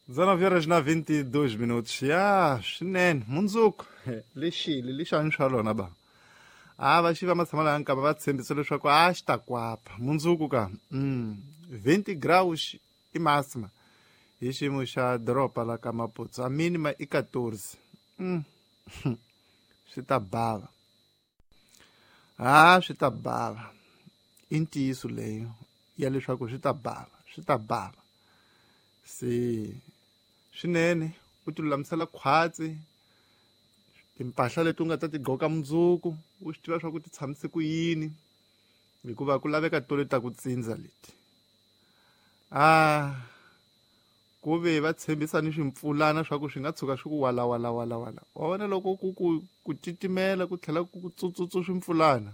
19 horas na 22 minutos. Ya, swinene mundzuku lexili lexani swa lona ba. A va xi va matshama laha nkava va tshembisa leswaku a xi ta kwapa mundzuku ka 20 graus i máxima hi xiyimo xa doroba la ka Maputo, a mínima i 14. Swi ta bava. Ha swi ta bava. I ntiyiso leyo ya leswaku swi ta bava, swi ta bava. Se swinene u ti lulamisela khwatsi timpahla leti u nga ta ti gqoka mundzuku u swi tiva swa ku ti tshamise ku yini hikuva ku laveka to leti ta ku tsindza leti. A ku ve va tshembisa ni swimpfulana swa ku swi nga tshuka swi ku wala wala wala wala. Wa vona loko ku ku ku titimela ku tlhela ku tsutsutsu swimpfulana.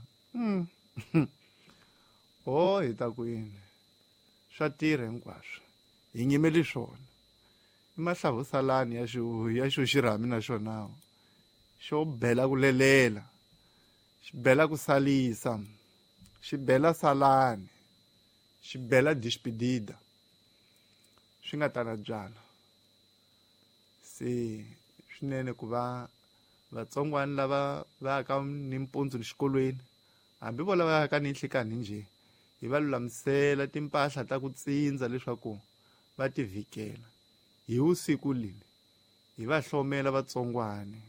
Oh hi ta ku yini? Swa tirha hinkwaswo. Hi nyimeli swona. I mahlavusalani ya xo ya xo xirhami na xona. Xo bela ku lelela. Xi bela ku salisa. Xi bela salani. Xi bela despedida. Swi nga tala byala. Se swinene ku va vatsongwana lava va yaka nimpundzu xikolweni hambi vo lava yaka ni nhlikani njhe hi va lulamisela timpahla ta ku tsindza leswaku va ti vhikela hi vusiku leli hi va hlomela vatsongwane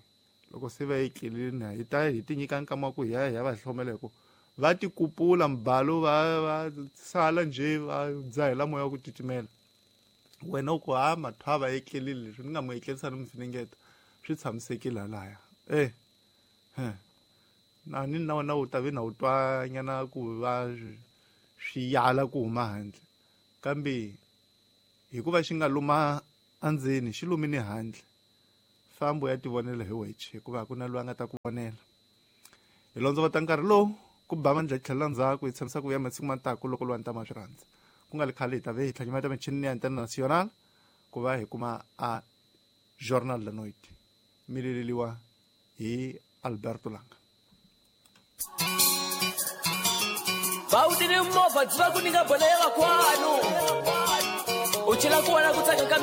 loko se va etlelini hi ta hi ti nyika nkama wa ku hi ya hi ya va hlomela hi ku va ti kupula mbalo va va sala njhe va dzahela moya wa ku titimela. Wena u ku ha mathwa va etlelile leswi ni nga mu etlerisa ni mu finingeta swi tshamisekile halaya. Na ni na wena u ta ve na u twa nyana ku va swi yala ku huma handle kambe hikuva xi nga luma endzeni xi lumini handle fambo ya tivonela hi weche hikuva a ku na loyi a nga ta ku vonela. Hi londzovota nkarhi lowu ku ba mandla tlhela ndzhaku hi tshamisa ku vuya masiku ma taku loko lwa ntama swi rhandza ku nga li khale hi ta ve hi tlhanyimeta michini ya International ku va hi kuma a Journal da Noite mi leleliwa hi Alberto Langa. Bawutini movha byi va ku nyika bolo ya vakwanu u chela ku vona ku tsaka ka mina.